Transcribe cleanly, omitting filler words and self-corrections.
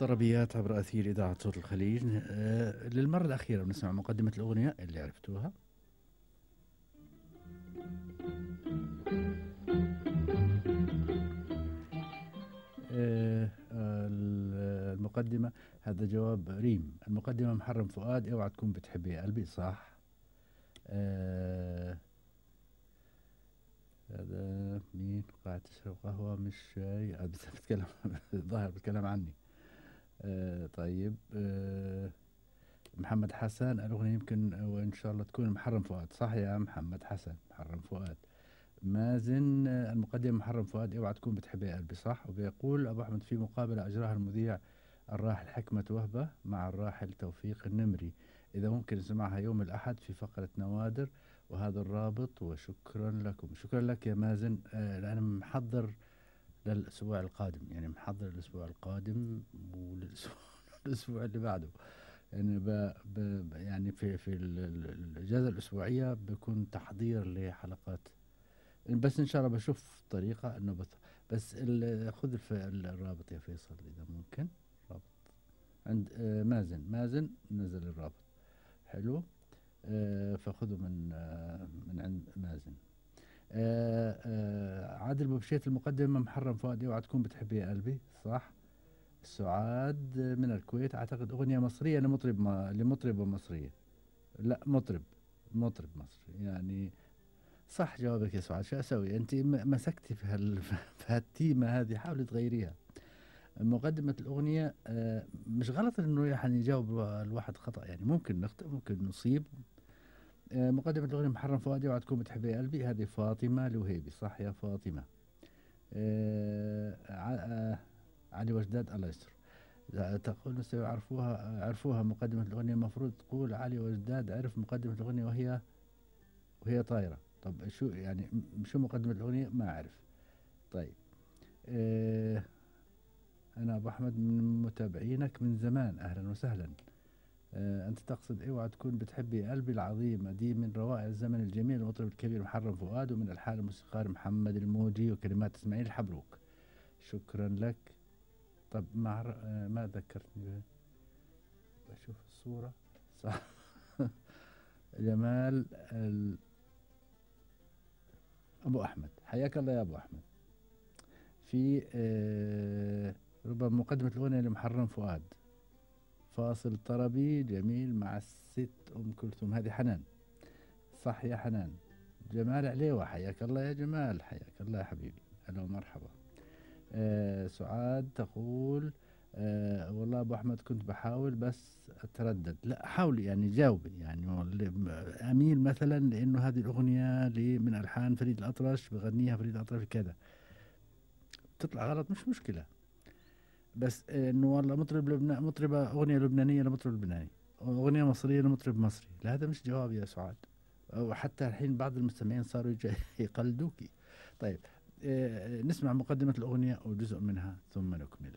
طربيات عبر أثير إذاعة صوت الخليج. للمرة الأخيرة بنسمع مقدمة الأغنية اللي عرفتوها. المقدمة هذا جواب ريم. المقدمة محرم فؤاد اوعى تكون بتحبي يا قلبي، صح. هذا مين قاعد تشرب قهوة مش شاي؟ بس بتكلم الظاهر بتكلم عني. طيب. محمد حسن الأغنية يمكن وإن شاء الله تكون محرم فؤاد، صح يا محمد حسن، محرم فؤاد. مازن المقدمة محرم فؤاد اوعى تكون بتحبي يا قلبي، صح. وبيقول أبو أحمد في مقابلة أجراها المذيع الراحل حكمة وهبة مع الراحل توفيق النمري، إذا ممكن نسمعها يوم الأحد في فقرة نوادر وهذا الرابط. وشكرا لكم. شكرا لك يا مازن. أنا محضر للأسبوع القادم، يعني محضر الأسبوع القادم والأسبوع اللي بعده. يعني يعني في الإجازة الأسبوعية بيكون تحضير لحلقات، بس إن شاء الله بشوف طريقة إنه بس خذ الرابط يا فيصل إذا ممكن. رابط عند مازن نزل الرابط، حلو. فخذه من عند مازن. عادل بوبشيت المقدمة محرم فؤاد اوعى تكون بتحبي يا قلبي، صح. سعاد من الكويت اعتقد اغنية مصرية لمطربة مصرية. لا مطرب مصري يعني. صح جوابك يا سعاد. شو اسوي انت مسكتي في هالتيمة هذه، حاولي تغيريها. مقدمة الأغنية مش غلط إنه يعني يجاوب الواحد خطأ، يعني ممكن نخطئ ممكن نصيب. مقدمة الأغنية محرم فؤادي اوعى تكون بتحبي يا قلبي، هذه فاطمة الوهيبي، صح يا فاطمة. علي وجداد الله يستر. تقول مستوى عرفوها مقدمة الأغنية، المفروض تقول علي وجداد عرف مقدمة الأغنية وهي طايرة. طب شو يعني شو مقدمة الأغنية؟ ما أعرف. طيب. أنا أبو أحمد من متابعينك من زمان، أهلا وسهلا. أنت تقصد اوعى تكون بتحبي قلبي العظيمة، دي من روائع الزمن الجميل المطرب الكبير محرم فؤاد، ومن ألحان الموسيقار محمد الموجي وكلمات إسماعيل الحبروك. شكرا لك. طب ما ذكرتني، بشوف الصورة صح. جمال أبو أحمد، حياك الله يا أبو أحمد. في ربما مقدمة الأغنية لمحرم فؤاد فاصل طربي جميل مع الست أم كلثوم، هذه حنان، صح يا حنان. جمال عليوة، حياك الله يا جمال، حياك الله يا حبيبي، هلا ومرحبا. سعاد تقول والله أبو أحمد كنت بحاول بس أتردد. لا حاولي يعني جاوبي، يعني أميل مثلا لأنه هذه الأغنية من ألحان فريد الأطرش، بغنيها فريد الأطرش كذا، تطلع غلط مش مشكلة. بس إنه والله مطربة أغنية لبنانية لمطرب لبناني، أغنية مصرية لمطرب مصري، لا هذا مش جواب يا سعاد. وحتى الحين بعض المستمعين صاروا يقلدوكي. طيب. نسمع مقدمة الأغنية وجزء منها ثم نكمل.